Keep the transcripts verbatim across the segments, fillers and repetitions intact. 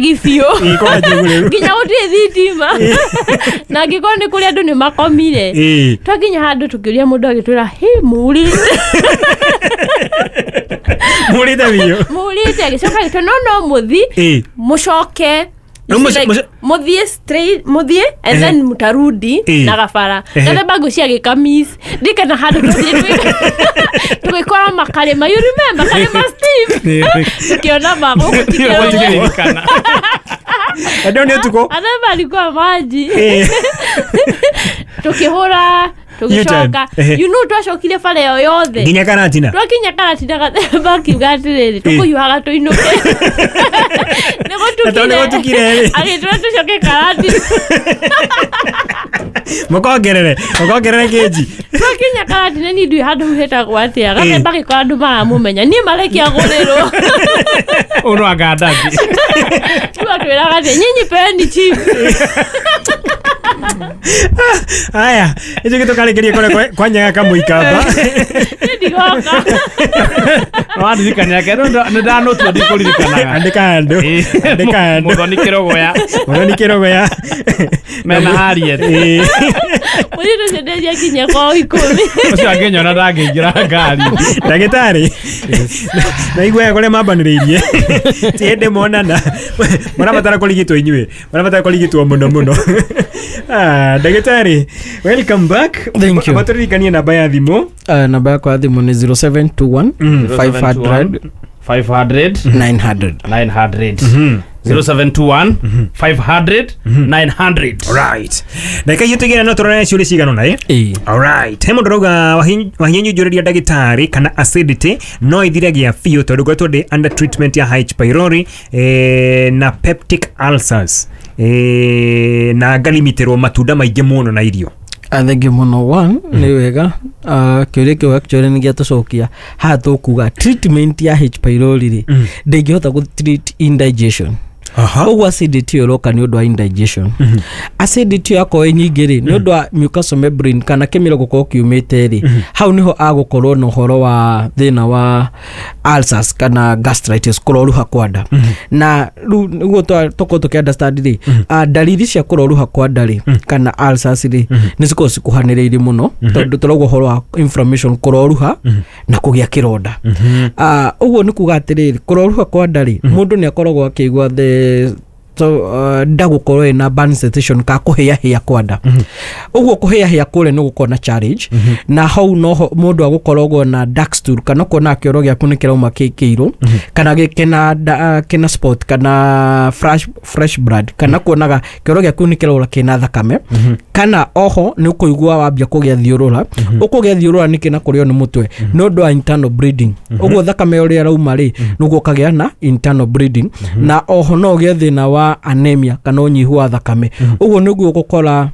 Icagi biũ. Ĩ, kwa Njũgũ. Nginya gũtirĩ thitima na angĩkorwo nĩ kũrĩ andũ nĩ makomire. Ĩ. Twakinya handũ tũkĩũria mũndũ, agĩtwĩra, "Hĩ, mũrĩte." Mũrĩte biũ. Mũrĩte. Agĩcoka agĩtwĩra, no no mũthi Ĩ. mũcoke." No, You see, mũce- like, mũce- mũthiĩ straight, mũthiĩ and Ehe. then mũtarudi Ĩ. na gabara. Ehe. Gathemba ngũcia agĩkamis ndikana handũ tũthiĩ tũgĩkora makarĩma. You remember Karĩma, Steve? Tukiona ma gũkũ ti kĩrũgũ. Gũtikĩririkana. Andũ nĩ ũtukũ. Gathemba alikuwa maji. Ĩ. Tukĩhũra, tũgĩcoka. U-turn. Ehe. You know twacokire bara ĩyo yothe nginya Karatina. Twakinya Karatina, Gathemba akiuga atĩrĩrĩ, "Tũkũhiũhaga tũinũke." Nĩ Na tondũ nĩ gũtukire rĩ. Agĩtwĩra tũcoke Karatina. Mũkongerere mũkongerere kĩnji. Twakinya Karatina, ni ndiũĩ handũ hau hetagwo atĩa, Gathemba agĩkora andũ maramũmenya, niĩ marekia gũrĩrwo. Ũyũ no anga ndathi. Rĩu atwĩraga atĩ, "Nyinyi peeni chief." Aya, ĩcio gĩtũkarĩkĩrie kũrĩa kwa- kwa Nyaga Kamũikamba. Niĩ ndigoka. Wandirikania ke nĩ ndanũtua ndikũririkanaga. Andĩka handũ, andĩka handũ. Mũthoni Kĩrogoya. Mũthoni Kĩrogoya. Mena Harriet. Ĩ. Mũirĩtu ũcio ndendia kwao ikũmi. Ũcio angĩnyona ndangĩingĩra ngari. Ndagĩtarĩ, naiguaga kũrĩa mambanĩrĩirie ti hĩndĩ monana, marabatara kũrigitwo, inyuĩ marabatara kũrigitwo mũno mũno. Ah, ndagĩtarĩ, welcome back. Thank you. Matũririkanie namba ya thimũ. Uh, namba yakwa ya thimũ nĩ zero seven two one Mm. five hundred five hundred nine hundred. nine hundred. zero seven two one five hundred nine hundred. Right, ndagĩka icio tũigĩra no tũrore ciũria cigana ũna, ĩ? Ĩĩ. Alright, he mũndũ ũrauga, "Wahinyũ, njũrĩria ndagĩtarĩ kana acidity no ithire gĩa biũ, tondũ ngoretwo ndĩ under treatment ya H pylori eh, na peptic ulcers eh, na ngalimitĩrwo matunda maingĩ mũno na irio." Ah, thank you mũno. One, nĩ wega. Ah, kĩũria kĩu actually nĩ gĩatũcokia haha. Tũkuga treatment ya H pylori rĩ, Mm. ndĩngĩhota gũ treat indigestion. Aha. Ũguo acidity ĩyo ĩroka nĩ ũndũ wa indigestion. Acidity ĩyo yakorwo ĩ nyingĩ rĩ, nĩ ũndũ wa mucosal membrane kana kĩmĩro gũkorwo kiumĩte rĩ, hau nĩho agũkorwo na ũhoro wa thĩna wa ulcers kana gastritis, kũroruha kwa nda. Na rĩu nĩguo twa- tũkorwo tũkĩ understand rĩ, ah, ndariri cia kũroruha kwa nda rĩ kana ulcers rĩ, nĩ cikoragwo cikuhanĩrĩirie mũno, tondũ tũrauga ũhoro wa inflammation, kũroruha na kũgĩa kĩronda. Ah, ũguo nĩ kuga atĩrĩrĩ, kũroruha kwa nda rĩ, mũndũ nĩ akoragwo akĩigua the so, uh, nda gũkorwo ĩna burning sensation ka kũhĩahĩa kwa nda. Ũguo kũhĩahĩa kũrĩa nĩ gũkorwo na challenge, na hau noho mũndũ agũkoragwo na dark stool, kana kuona kĩoro gĩaku nĩ kĩrauma kĩ kĩirũ kana gĩ- kĩna da- kĩna spot kana fresh, fresh blood, kana kuonaga kĩoro gĩaku nĩ kĩraura kĩna thakame. Kana oho nĩ ũkũigua wambia kũgĩa thiũrũra. Ũkũgĩa thiũrũra nĩkĩ na kũrĩo nĩ mũtwe? Nĩ ũndũ wa internal bleeding. Ũguo thakame ũrĩa ĩrauma rĩ, nĩguo ũkagĩa na internal bleeding. Na oho no ũgĩe thĩna wa anemia kana ũnyihu wa thakame. Ũguo nĩguo ũgũkora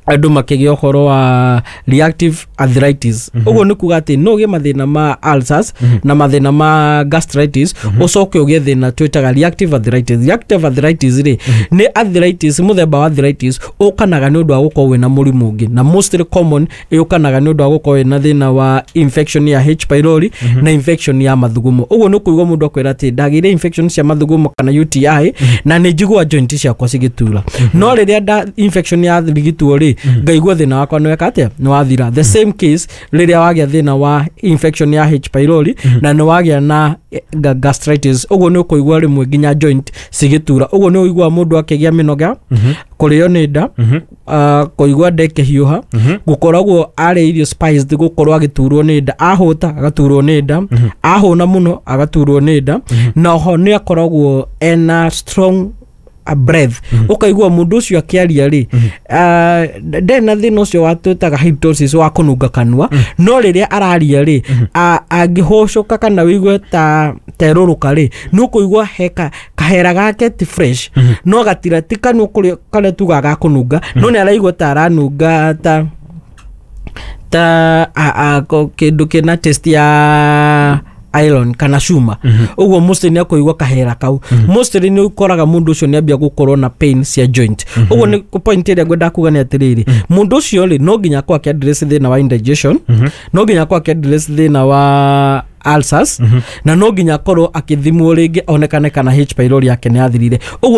andũ makĩgĩa ũhoro wa reactive arthritis. Ũguo nĩ kuga atĩ no ũgĩe mathĩna ma ulcers na mathĩna ma gastritis, ũcoke ũgĩe thĩna twĩtaga reactive arthritis. Reactive arthritis rĩ, nĩ arthritis, mũthemba wa arthritis ũkanaga nĩ ũndũ wa gũkorwo wĩna mũrimũ ũngĩ, na mostly common ĩũkanaga nĩ ũndũ wa gũkorwo wĩna thĩna wa infection ya H pylori na infection ya mathugumo. Ũguo nĩ kũigua mũndũ akwĩra atĩ, "Ndagĩire infection cia mathugumo kana U T I na nĩ njigua joint ciakwa cigĩtura, no rĩrĩa nda infection ya rigitwo rĩ, ngaigua thĩna wakwa nĩ weka atĩa, nĩ wathira." The same case rĩrĩa wagĩa thĩna wa infection ya H pylori na nĩ wagĩa na eh, ga- gastritis, ũguo nĩ ũkũigua rĩmwe nginya joint cigĩtura. Ũguo nĩ ũiguaga mũndũ akĩgĩa mĩnoga, kũrĩo nĩ nda, uh, kũigua nda ĩkĩhiũha, gũkoragwo arĩa irio spiced, gũkorwo agĩturwo nĩ nda, ahũta agaturwo nĩ nda, ahũna mũno agaturwo nĩ nda. Na oho nĩ akoragwo ena strong a breath. Ũkaigua mũndũ ũcio akĩaria rĩ, ah, ndarĩ na thĩna ũcio wa twĩtaga halitosis wa kũnunga kanua, no rĩrĩa araria rĩ, a- angĩhũcũka kana wĩigue ta terũrũka rĩ, nĩ ũkũigua he ka- kahera gake ti fresh, no gatira ti kanua kũrĩa karĩa tugaga ga kũnunga, no nĩ araigua ta aranunga ta ta a- a- ko- kĩndũ kĩna taste ya iron kana cuma. Ũguo mostly nĩ akũigua kahera kau. Mostly nĩ ũkoraga mũndũ ũcio nĩ ambia gũkorwo na pain cia joint. Ũguo nĩ point ĩrĩa ngwenda kuga nĩ atĩrĩrĩ, mũndũ ũcio rĩ, no nginya akorwo akĩ address thĩna wa indigestion, no nginya akorwo akĩ address thĩna wa ulcers, na no nginya akorwo akĩthimwo rĩngĩ onekane kana H pylori yake nĩ yathirire. Ũguo